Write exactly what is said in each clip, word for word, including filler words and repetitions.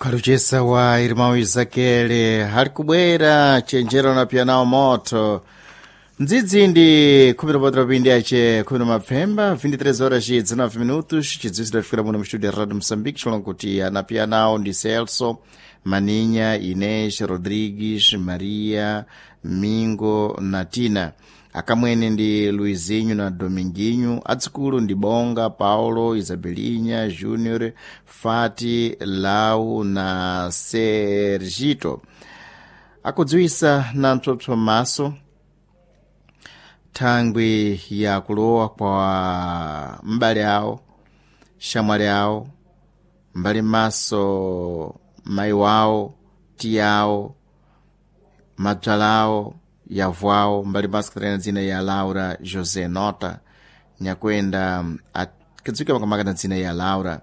Ukaluchesa wa irmão Isakele hali kubwera chenjero na pianao moto ndzidzi ndi khumi na potero pindi ace khumi na mapfemba vinte e três horas e dezenove minutos. Chidziwitso tidafika muno mstudio ya Radio Moçambique chilonga kuti anapianao ndi Celso Maninha, Inês Rodrigues, Maria Mingo na Tina. Akamwene ndi Luizinho na Dominguinho, adzukulu ndi Bonga, Paulo, Isabelinha, Júnior, Fati, Lau na Sergito. Akudziwisa na mtsopso maso thangwi ya kulowa kwa mbale awo, shamwali awo, mbali maso mayi wawo, tiya awo, mabzala awo, yavu awo, mbali maso katalina dzina ya Laura José Nota nyakwenda akidziwika makamaka na dzina ya Laura,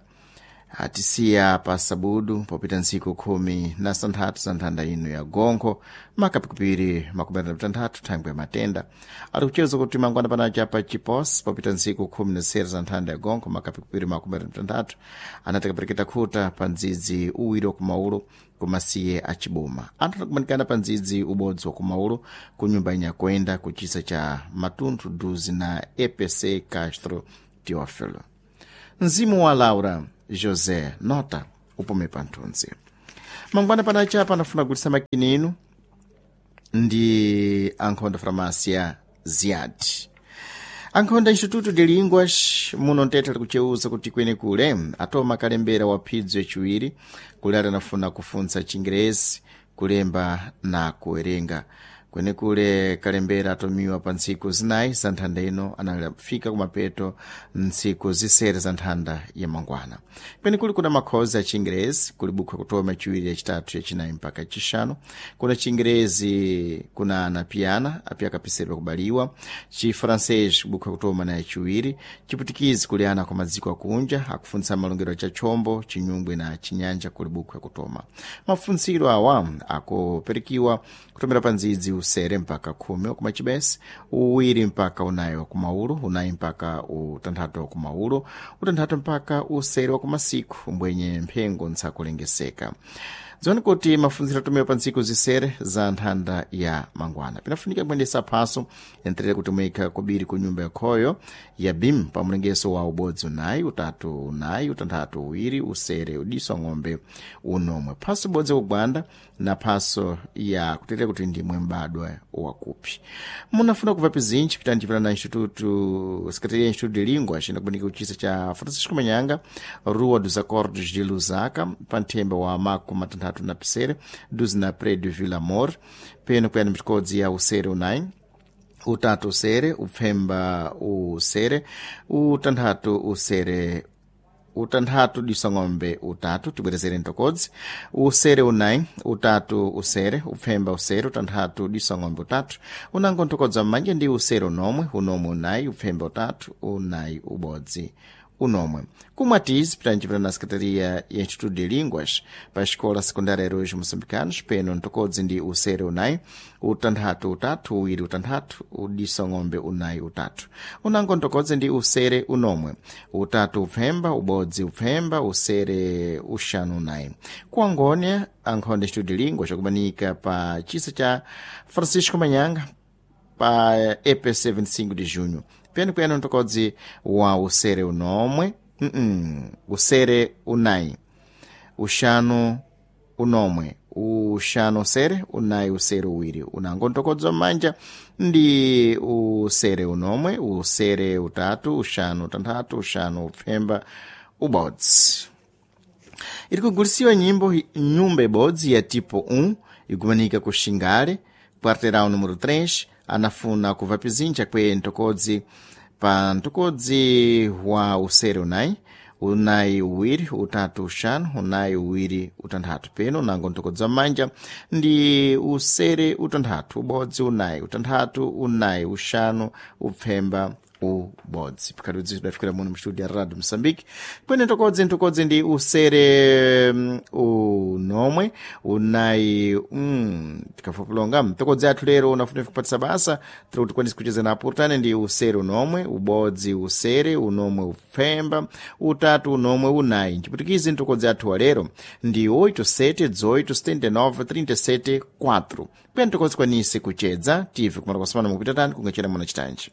atisiya pa sabudu popita ntsiku khumi na santhatu za nthanda ino ya gonkho makapikupiri makumi atatu tanthatu thangwi ya matenda. Ali kucheza kuti mangwana panacha pa chipos popita ntsiku khumi na zisere za nthanda ya gonkho makapikupiri makumi atatu tanthatu anati kapereketa khuta pa ndzidzi uwiri wa kumaulo kumasiye acibuma. Anthu anakumanikana pa ndzidzi ubodzi wa kumaulo ku nyumba inyakwenda kuchisa cha matunthu duzi na E P C Castro Teófilo. Mzimu wa Laura José Nota upume panthunzi. Mangwana panacha panafuna kugulitsa makina inu ndi ankhonda farmácia Ziad. Ankhonda Instituto de Línguas muno mtete ali kucheuza kuti kwenekule atoma kalembera wa phidzo yaciwiri kule atanafuna kufuntsa Chingerezi, kulemba na kuwerenga. Kwenekule kalembera atomiwa pa ntsiku zinayi za nthanda ino, anafika kumapeto ntsiku zisere za nthanda ya mangwana. Kwenekule kuna makhozi a Chingerezi, kuli bukhu yakutoma yaciwiri, yacitatu, yacinayi mpaka yacixanu. Kuna Chingerezi kuna anapiana api akapisedwa kubaliwa, Chifrancês bukhu yakutoma na yaciwiri, Chiputikizi kuli ana kwa madziko akunja akufuntsa malongedwe cha chombo, Chinyungwe na Chinyanja kuli bukhu yakutoma. Mafuntsiro awa akuperikiwa kutomera pa ndzidzi usere mpaka khumi wakumachibesi, uwiri mpaka unayi wakumaulo, unayi mpaka utanthatu wakumaulo, utanthatu mpaka usere wakumasiku mbwenye mphengo ntsakulengeseka. Dziwani kuti mafunziro atumiwa pa ntsiku zisere za nthanda ya mangwana. Pinafunika kuyendesa phaso yenterere kuti muyikha kubiri ku nyumba yakhoyo ya BIM pa mlengeso wa ubodzi unayi, utatu unayi, utanthatu uwiri, usere udiso ng'ombe unomwe, phaso ibodzi kugwanda na phaso ya kuterera kuti ndimwe mbadwa wakupi. Munafuna kubva pizinji, pitani chipita na instituto, Secretaria Instituto de Línguas inakubanika kuchisa cha Francisco Manyanga, Rua dos Acordos de Lusaka, pa nthemba wa makumi matanthatu na pisere duzi na prédio Vila Amor. Peno kuyani mitikodzi ya usere unayi, utatu usere, upfemba usere, utanthatu usere, utanthatu disong'ombe utatu. Tibwerezere ntokodzi: usere unayi, utatu usere, upfemba usere, utanthatu disong'ombe utatu. Unango ntokodza mmanja ndi usere unomwe, unomwe unayi, upfemba utatu, unayi ubodzi unomwe. Kumwatizi pitanjipita na Secretaria ya Instituto de Línguas pa Escola Secundária Heróis Moçambicanos. Peno ntokodzi ndi usere unayi, utanthatu utatu, uwiri utanthatu, udisong'ombe unayi utatu. Unango ntokodzi ndi usere unomwe, utatu upfemba, ubodzi upfemba, usere uxanu unayi. Kuangonia ankhonde Instituto de Línguas akubanika pa chisa cha Francisco Manyanga pa E P C vinte e cinco de Junho. Peno kuyani ntokodzi wa usere unomwe, mm -mm, usere unayi, uxanu unomwe, uxanu usere, unayi usere uwiri. Unango ntokodzi mmanja ndi usere unomwe, usere utatu, uxanu utanthatu, uxanu upfemba ubodzi. Iri kugulisiwa nyimbo nyumba ibodzi ya tipo um ikumanika ku Xingale, quarteirão número três. Anafuna kubva pizinja kwe ntokodzi pa ntokodzi wa usere unayi, unayi uwiri, utatu uxanu, unayi uwiri utanthatu. Peno nango ntokodzi manja ndi usere utanthatu, ubodzi unayi, utanthatu unayi, uxanu upfemba. Ubodzi pikati dafikira muno mstudio ya Radio Mosambike, kwene ntokodzi ntokodzi ndi usere mm, unomwe unayi mm, tikafupulonga mtokodzi athu lero unafuna kupatisa basa tiri kuti kwanisi kucheza na apurtane ndi usere unomwe ubodzi usere unomwe upfemba utatu unomwe unayi. Nchiputikizi ntokodzi athu wa lero ndi oito sete dezoito setenta e nove trinta e sete quatro, kwene tokodzi kwanisi kuchedza tive kumala kwasamana mukupita tani kungachera muna chitanji.